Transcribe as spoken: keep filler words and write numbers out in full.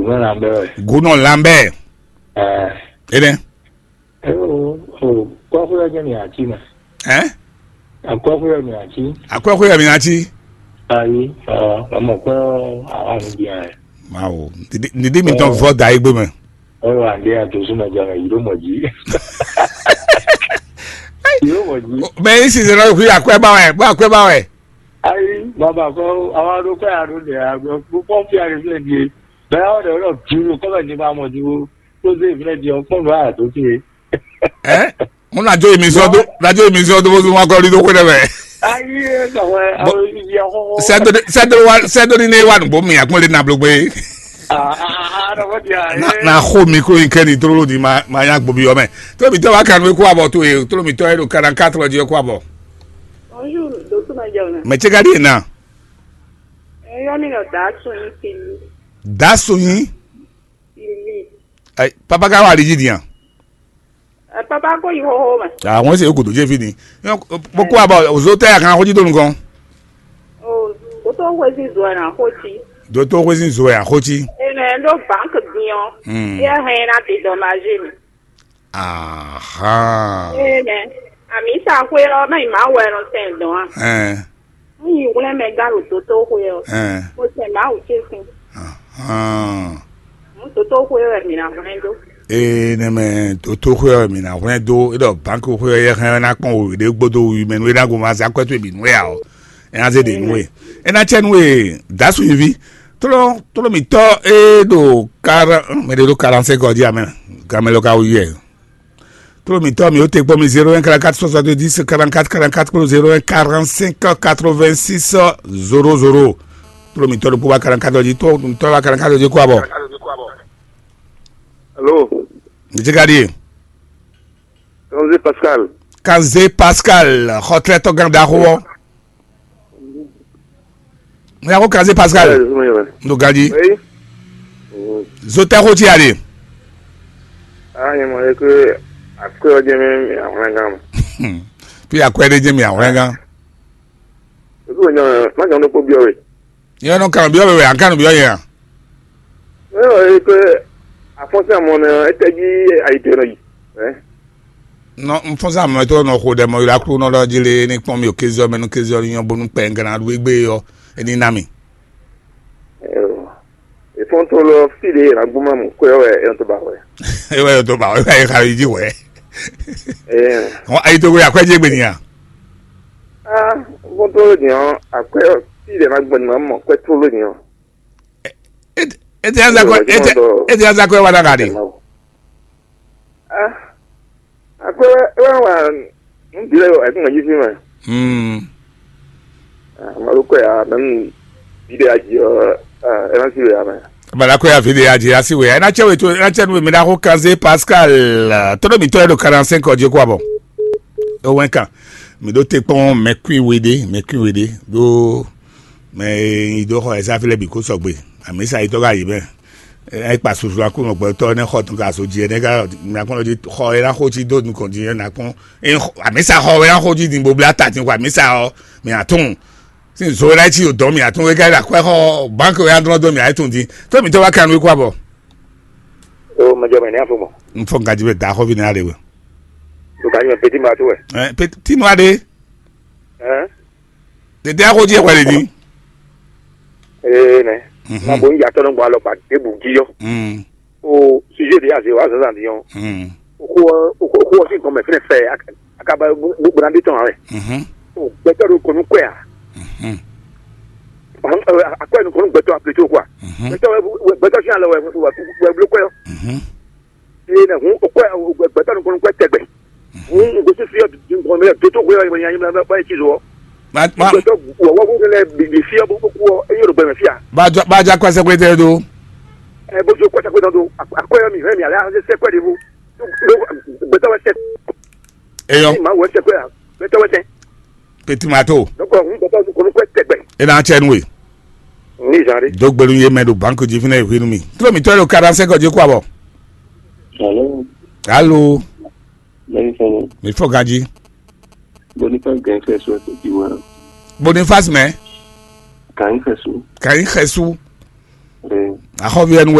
Gúnɔ Lambert. Gúnɔ Lambert. Ɛ. Énɛ́. Ɛ o, o, kɔ́xwé ɔ́ jẹ́ mi àcí mɛ. Ɛ? Akɔ́xwé ɔ́ mi àcí. Akɔ́xwé ɔ́ mi àcí. Ayi, ɔ, ọmọ kpẹ́ ọ́, àwa mi di ɛ. Mawu, nìdí mi tɔn vɔ da yí gbé mɛ. Ɔ wà ndé àtúnṣúmọ̀ jẹ́ mɛ, yìí ló mọ̀ jí. Yìí ló mọ̀ jí. Mɛ yín sì ṣe lọ́wọ́ fún akɔ́ ẹ bá wẹ̀, bá akɔ́ ẹ bá wẹ̀. Ayi, bàbá kọ́, àwọn arúgbó àrùn lè àgbẹ̀ púpọ̀ fi àrùn lè di. Bẹ́ẹ̀ ọ̀dọ̀ ọ̀dọ̀ dúró, kọ́mẹ̀ ní bá mọ̀ dúró. Tó dé ìfúnná di ọ̀pọ̀ lọ́wọ́ àtúnṣe. Ɛ? Mo na jó emi sɔ do, na jó emi sɔ do bó zun wa kɔ ɖi do xwe ɖe mɛ. Ayi, ɛ, kawɛ, Bɔ- àwọn ibi ahọ́họ́. Sɛdo ni ne wa nugbo mi akpɔn le na blo gbe. Ah, ah, ah, ah, na wadi, ah, Na eh. Na xo mi ko yin kɛ ni trolo di ma ma nya gbobi yɔ mɛ. To mi tɔ wa kanu ko abɔ to e, to mi tɔ e do quarante-quatre di ko abɔ. Bonjour, docteur Madjawna. Mɛ tse ka di na. Eyɔni nɔ da sun yi fili. Da sun yi. Fili. Ai, papa ka wa di di yan. Ɛ, papa ko yi xoxo mɛ. Ah, wọ́n ṣe kò tó jẹ́ fi ni. Bó kó àbọ̀ òzó tẹ́ àkàn kó jí tó nǹkan. O, kó tó wé sí zo ẹ̀ nà kó cí. Dó tó wé sí zo ẹ̀ àkó cí. Ene ɖo banque din ɔ́. Hmm. Yɛ hɛn na dédommagé mi. Aha. Ene. Ami sa xwe ɔ́, mɛ yi ma wɛ nɔ sɛn dɔn a. Ɛn. N yi hwlɛ́n mɛ gán ɖo dotóxwe ɔ́, Ɛn. Mo sɛ Mawu ce sin. Ahán. N dotóxwe wɛ mi ná hwlɛ́n dó. Ee, nɛ mɛ dotóxwe ɔ́ mi ná hwlɛ́n dó, é ɖɔ banki xwe ɔ́ yɛ hɛn ná kpɔn wěɖé gbódó wi mɛ nú é ná gomɔ azǎ kwɛ́ towe bǐ nú é ǎ ɔ́, é ná zé ɖě nú we. É ná cɛ nú we dǎ sunyiví. Tló tló mǐtɔ́ é ɖo kara mɛ ɖé ɖo karansɛ́ gɔ́ jí amɛ, gamɛ lɔ ka wú yɛ. Tló mǐtɔn mi ó te kpɔ́n mi zéro un quarante-quatre soixante-dix quarante-quatre quarante-quatre kpó zéro un quarante-cinq quatre-vingt-six zéro zéro. Tló mǐtɔn ɖokpó wá quarante-quatre jí, tló mǐtɔn wá quarante-quatre jí kó abɔ. Alo. Ǹjẹ́ ká ɖíe? Kanzé Pascal. Kanzé Pascal, xɔtlɛ́tɔ́ gán ɖaxó ɔ́. Mo yà kó Kanzé Pascal. Ndo ganji. Zotɛ xó tí a ɖe. Ah, nyɛ mɔ ɖe ke akwɛ́ ɔ́ jɛ mɛ mi ahwlɛ́ngán mɛ. Tó yà kó ɛ ɖé jẹ́ mi ahwlɛ́ngán. Ebi wò nyɔ má jɔ ɖokpó byɔ́ we. Yɛ nɔ kan byɔ́ wɛ, an kan byɔ́ yɛ. Ɛ ɔ e ke afɔnsɛ mɔ nɛ etɛ jí ayi te nɔ yi. Ɛ. Nɔ n fɔ́n sá mɛ tó nɔ xo ɖɛ mɔ ylá kúrú nɔ ɖɔ jí lé ní kpɔ́n mì o kézɔ mɛ nú kézɔ ní nyɔ́ bónú kpɛ n gán ɖu égbé ɔ́ é ní ná mì. Ìfɔ́ntɔ́lɔ fí ɖě è nǎ gbɔn má mɔ kwɛ ɔ́ wɛ é nɔ tó ba hwɛ. É wɛ é nɔ tó ba hwɛ é wɛ é xa yi jí hwɛ. Hɔn ayi togo yi akwɛ́ jí égbé nìyà. Á fɔ́ntɔ́lɔ dìnyɔ́ akwɛ́ fí ɖě ná gbɔn má mɔ kwɛ tlóló dìnyɔ́. Ete aza kwɛ ete ete aza kwɛ wa ɖaga ɖe. Ah, akwɛ wɛ wɛ wa ndu lɛ wɛ kun yi fi mɛ. Hmm. Malo kwɛ ya mɛ nu bi de aji ɔ ɛ na si wɛ ya mɛ. Bala kwɛ ya fi de aji asi wɛ ya na cɛ wɛ to na cɛ nu mi da ko Kanze Pascal. Tɔnɔ mi tɔ yɛ do quarante-cinq ɔ je ko abɔ. O wɛn kan. Mi do te kpɔn mɛ kui we de mɛ kui we de do. Mɛ yi dó xɔ ɛsɛ afi lɛ bi kó sɔgbe. Amisa yi tɔ ka yi mɛ. Ɛ kpa susu akú nɔ gbɛtɔ ne xɔ tun ka so dzi ne ka mi akpɔn di xɔ yɛ na xo dzi do nukɔn dzi yɛ na kpɔn. Amisa xɔ yɛ na xo dzi di bo bla ta ti ko amisa ɔ mi atún. Sin zo yɛ na tsi o dɔn mi atún wɛ ka yɛ la kɔ xɔ bank yɛ adrɔ do mi ayɛ tun di. To mi tɔ wa kan wɛ kó abɔ. O mɛ jɔ mɛ ne afɔ mɔ. N fɔ nka dzi bɛ da xɔ vi ne ale wɛ. To ka dzi mɛ peti ma to wɛ. Ɛ peti ma de. Ɛ. Tete axɔ dzi wɛ le di. Ee nɛ. Mhm. Ma bo n yatɔ nɔ gbɔ alɔ kpa debu gi yɔ. Mm. O sujet de aze wa zazan di yɔ. Mm. O ko o ko o ko si gɔmɛ fɛnɛ fɛ akaba gbona de tɔn awɛ. Mhm. O gbɛtɔ do kɔnu kɔɛ a. Mhm. Akɔɛ nu kɔnu gbɛtɔ apleto quoi. Mhm. Gbɛtɔ gbɛtɔ si alɔ wɛ wɛ blo kɔɛ. Mhm. Ee nɛ hun o kɔɛ gbɛtɔ nu kɔnu kɔɛ tɛgbɛ. Hun n gosi fi ɔ dundun mɛ doto ko yɔ yɛ yɛ yɛ yɛ ci zɔ. Ma ma Gbɛtɔ wɔ wɔ ko lɛ bi bi fi ɔ bo ko ɔ e yɔrɔ gbɛmɛ fi a. Ba jɔ ba ja kɔ sɛkpɛtɛ do. Ɛ bo jo kɔta ko do akɔyɔ mi hɛ mi ala se sɛkpɛ de bo. Gbɛtɔ wɛ sɛ Eyɔ. Ma wɛ sɛkpɛ a gbɛtɔ wɛ sɛ. Petit mato. Donc hun gbɛtɔ ko ko tɛgbɛ. E na cɛ nu we. Ni zan de. Dogbelu ye mɛ do banque ji fina ehwenu mi. Tro mi tɔ lo quarante-cinq je ko abɔ. Allô. Allô. Mɛni fɛnɛ. Mi fɔ ganji. Boniface gan fɛ so ko ti wa. Boniface mɛ. Kan fɛ so. Kan xɛsu. Ɛ. Axɔvi ɛnu